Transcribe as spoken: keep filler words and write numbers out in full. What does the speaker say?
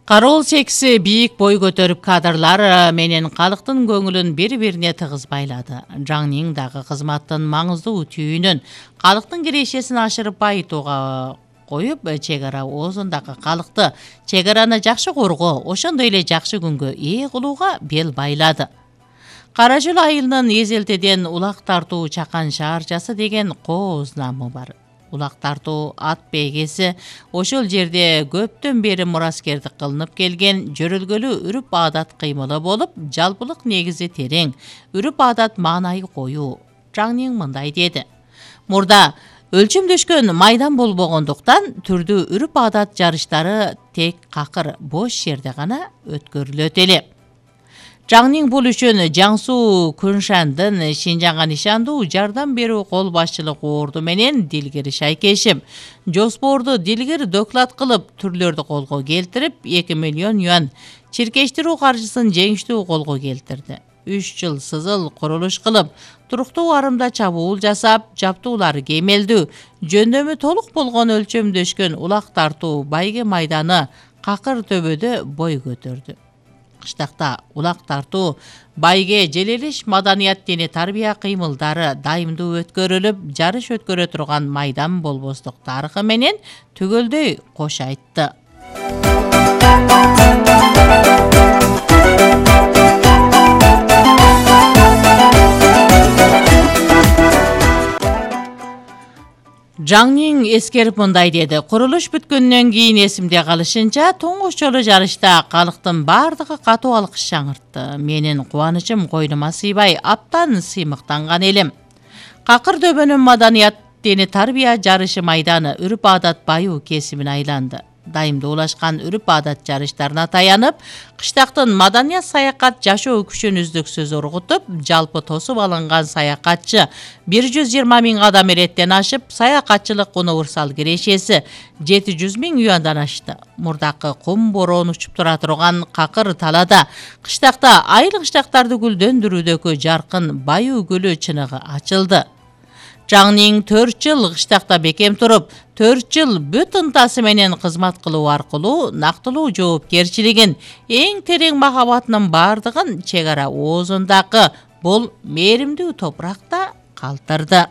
Кароол чекси бийик бой көтөрүп кадрлар менен калктын көңүлүн бири-бирине тыгыз байлады. Жаңнин дагы кызматтын маңыздуу түйүнүн калктын кирешесин ашырып байытууга коюп, чек ара оозундагы калкты чек араны жакшы коргоо, ошондой эле жакшы күнгө ээ кылууга бел байлады. Кара жол айылынын эзелтеден улак тартуу чакан шаарчасы деген кооз намы бар. Улак тартуу ат бейгеси ошол жерде көптөн бери мураскердик кылынып келген жөрөлгөлүү үрүп адат кыймылы болуп, жалпылык негизи терең, үрүп адат маанайы коюу. Жаңнин мындай деди: Мурда өлчөмдөшкөн майдан болбогондуктан түрдүү үрүп адат жарыштары тек какыр бош жерде гана өткөрүлөт эле. Жаңнин бул үчүн Жаңсу Күншандын Шинжаңга нишандуу жардам берүү кол башчылык орду менен Дилгир Шайкешев жоспорду дилгир доклад кылып, түрлөрдү колго келтирип, эки миллион юан чиркештирүү каржысын жеңиштүү колго келтирди. үч жыл сызыл курулуш кылып, туруктуу арымда чабуул жасап, жаптуулары кемелдүү, жөндөмү толук болгон өлчөмдөшкөн улак тартуу байге майданы какыр төбөдө бой көтөрдү. Кыштакта улак тартуу, байге желелиш маданият дене тарбия кыймылдары дайымдуу өткөрүлүп, жарыш өткөрө турган майдан болбостук тарыхы менен түгөлдөй кош айтты. Жаңнин эскерип мындай деди: Курулуш бүткөндөн кийин эсимде калышынча, туңгуч жолу жарышта калктын бардыгы катуу алкыш жаңыртты. Менин кубанычым койнума сыйбай, аптан сыймыктанган элем. Какыр дөбөнүн маданият дене тарбия жарышы майданы үрүп адат байуу кесибин айланды. Дайымдуулашкан үрүп адат жарыштарына таянып, кыштактын маданият саякат жашоо күчүн үздүксүз ургутуп, жалпы тосуп алынган саякатчы бир жүз жыйырма миң адам эреттен ашып, саякатчылык универсал кирешеси жети жүз миң юандан ашты. Мурдакы кум бороон учуп тура турган какыр талада кыштакта айыл кыштактарды гүлдөндүрүүдөгү жаркын байуу гүлү чыныгы ачылды. Жаңнин төрт жыл кыштакта бекем туруп, төрт жыл бүт ынтасы менен кызмат кылуу аркылуу нактылуу жоопкерчилигин, эң терең махабатынын бардыгын чек ара оозундагы бул мээримдүү топуракта калтырды.